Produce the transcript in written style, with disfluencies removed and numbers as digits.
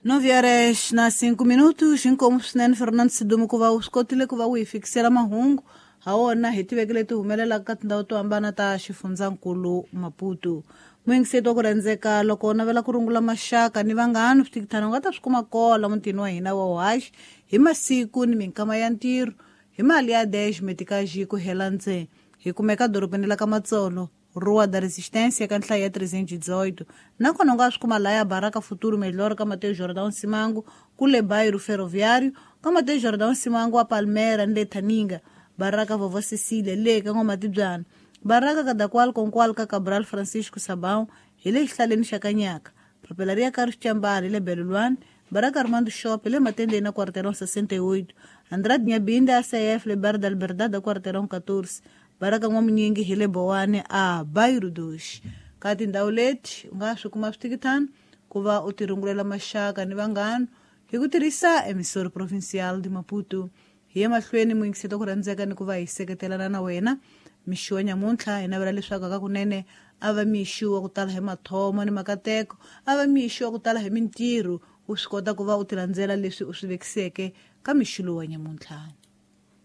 9 horas na 5 minutos, inkomu swinene Fernando Sidumo ku va u swi kotile ku va u hi fikisela mahungu ha wona hi tiveke leti humelelaka ka tindhawu to hambana ta xifundzankulu Maputo. Muyingiseti wa ku rhandzeka, loko u navela ku rungula maxaka ni vanghana, switikithana u nga ta swi kuma kola mutini wa hina wa Uhaxi hi masiku ni minkama ya ntirho hi mali ya 10 metikaji ku hela ntsena. Hi kumeka dorobeni la ka Matsolo, Rua da Resistência, ka nhlayo ya 318. Nakona u nga swi kuma laya Baraka Futuro Melhor ka Mateus Jordão Simango, kule Bairro Ferroviário, ka Mateus Jordão Simango wa Palmera ni le Thaninga, Baraka Vovó Cecília le ka N'wamatibyana, Baraka Kadakwal Konkwal ka Cabral Francisco Sabão hi le xihlaleni xa Kanyaka, Papelaria Carlos Chambala hi le Belulwani, Baraka Armando Shop hi le Matendeni na Quarteirão 68, Andrade Nyabinda ACF le Bar da Liberdade a Quarteirão 14, Baraka N'wamunyingi hi le Bowane a Bairro 2. Ka tindhawu leti u nga swi kuma switikithana ku va u tirungulela maxaka ni vanghana hi ku tirhisa Emissora Provincial de Maputo. Hi ye mahlweni muyingiseti wa ku rhandzeka ni ku va hi seketelana na wena mixi wa nyamuntlha. Hi navela leswaku akakunene a va mixi wa ku tala hi mathomo ni makateko, a va mixi wa ku tala hi mintirho, u swi kota ku va u tilandzela leswi u swi vekiseke ka mixi lowu wa nyamuntlha.